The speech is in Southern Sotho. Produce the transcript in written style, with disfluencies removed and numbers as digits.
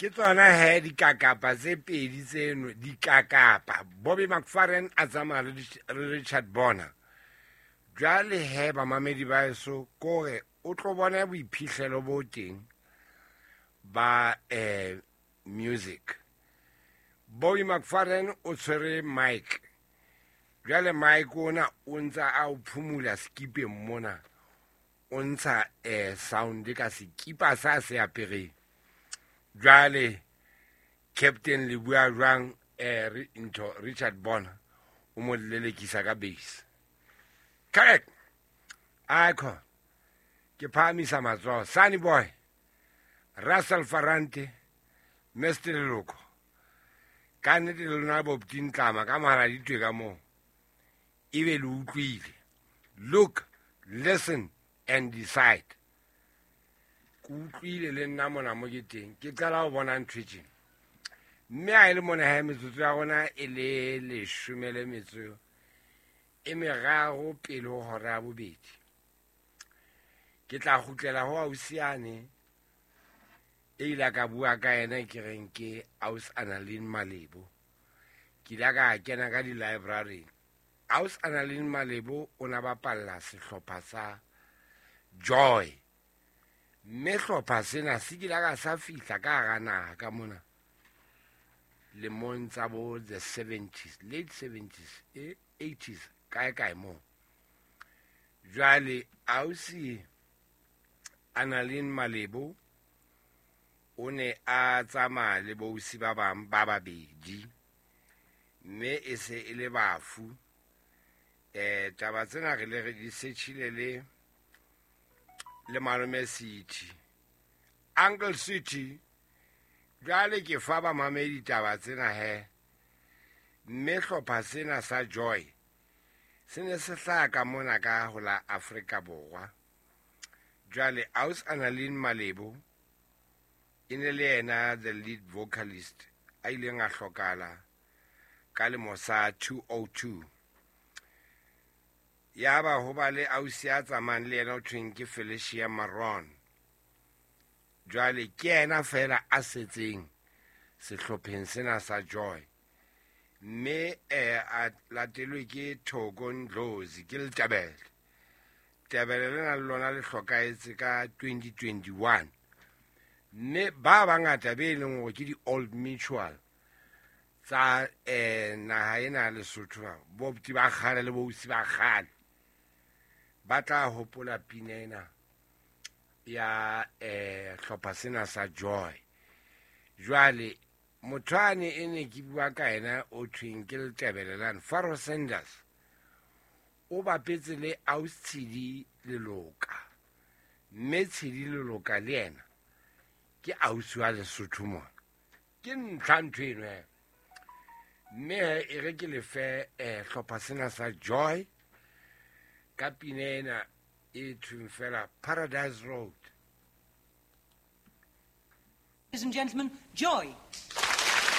Ke tsona he dikakapa tse pedi tseno, dikakapa. Bobby McFerrin a tsamaya le Richard Bona. Jwale he bamamedi ba eso, kore o tlo bona boiphihlelo bo teng ba music. Bobby McFerrin o tshwere mic. Jwale mic ona o ntsa a o phumula skipeng mona. O ntsha sound ka sekipa sa se apereng. Jwale Captain le bua jwang ntho Richard Bona o mo lelekisa ka bass. Correct. Icon. Ke phahamisa matsoho. Sunny Boy, Russell Ferrante, Mr. Leloko. Ka nnete le lona bo Ptintlama ka mara ditwe ka moo. Ebe le utlwile. Look, listen and decide. Ke utlwile le nna mona mo ke teng. Ke qala ho bona ntho e tjena. Mme ha e le mona he metsotso ya rona e le leshome le metso e meraro pele ho hora ya bobedi. Ke tla kgutlela ho ausiane e ile ka bua ka yena ke reng ke Aus Annalene Malebo. Ke ile ka kena ka di-library. Aus Annalene Malebo o na bapalla sehlopha sa Joy. Mme hlopha sena se kile ka sa fihla ka hara naha ka mona lemong tsa bo the 70s, late 70s, 80s, kae kae moo. Jwale ausi Annalene Malebo o ne a tsamaya le bousi ba bang ba babedi, mme e se e le bafu. Taba tsena re le re di setjhile le malome City, Uncle City. Jwale ke fa ba mamedi taba tsena he. Mme hlopha sena sa Joy se ne se hlaha ka mona ka ho la Afrika Borwa. Jwale Aus Annalene Malebo e ne le yena the lead vocalist a ileng a hlokala ka lemo sa 2002. Ya ba ho ba le ausi a tsamayang le yena o thweng ke Felicia Maron. Jwale ke yena fela a setseng sehlopheng sena sa Joy. Mme a latelwe ke Thoko Ndlozi ke Letebele. Tebele lena le lona le hlokahetse ka 2021. Mme ba bangata be leng hore ke di-Old Mutual tsa naha ena ya Lesotho, bo buti ba kgale le bousi ba kgale ba tla hopola pina ena ya hlopha sena sa Joy. Jwale motho ane e ne ke bua ka yena o thweng ke Letebele lane, Pharoah Sanders, o bapetse le Aus Tshidi Leloka. Mme Tshidi Leloka le yena ke ausi wa Lesotho mona. Ke ntlha ntho eno he. Mme he e re ke lefe hlopha sena sa Joy ka pina ena e thweng fela Paradise Road. Ladies and gentlemen, Joy.